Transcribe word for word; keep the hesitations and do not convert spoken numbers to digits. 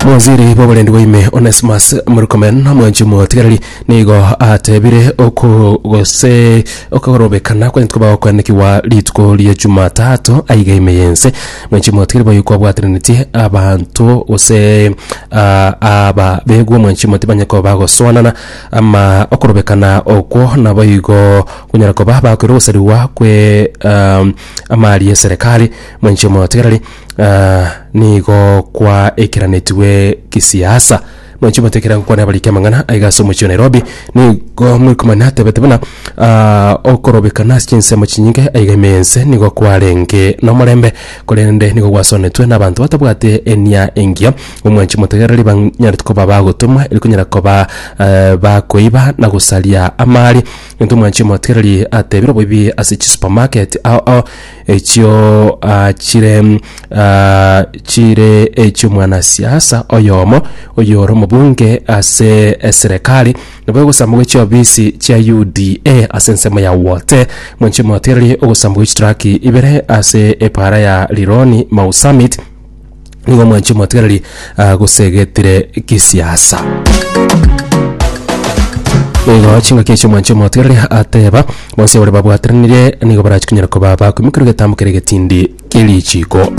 Mwaziri bw'oborendi bwa ime Onesmus Murkomen, omwanchi omotigareri, nigo atebire oko gose okorobekana kwanyete koba gokwenekiwa rituko ria Jumatatu aiga ime yense. Mwanchi omotigareri, boyo kwabwateranetie abanto gose ah, aba begwa omwanchi omoti banye koba bagosoanana ama okorobekana okwo naboigo konyara koba bakoira ogosariwa kwe um, amari ya serikali. Mwanchi omotigareri, uh, nigo kwa ekeranetiwe kisiasa. Mwanchi omotekera nkwana abariki amang'ana aiga ase omochie wa Nairobi, nigo Murkomen atebete buna uh, okorobekana ase chinsemo chinyinge aiga ime ense nigo kwarenge nomorembe, korende nigo gwasonetwe na abanto batabwate enia engiya. Omwanchi motegereri, banyarete koba bagotomwa eri konyara koba uh, bakoiba na gosaria amari ento. Omwanchi omotegereri, atebire oboibi ase chisupermarket ao ao echio uh, chire uh, chire echio mwanasiasa oyomo oyore omobunge ase eserekari nabo ogosamba gwe chiofisi chia U D A ase ensemo ya Wote. Mwanchi omotegereri, ogosamba gwe chitraki ibere ase epara ya Rironi Mau Summit nigo, mwanchi omotegereri, uh, gosegetire kisiasa. Nigo chingaki echio, mwanchi omotegereri, ateba bonsi abare babwateranire nigo barachi konyara koba bakoimokerwa egetambo kere egetindi kerichiko.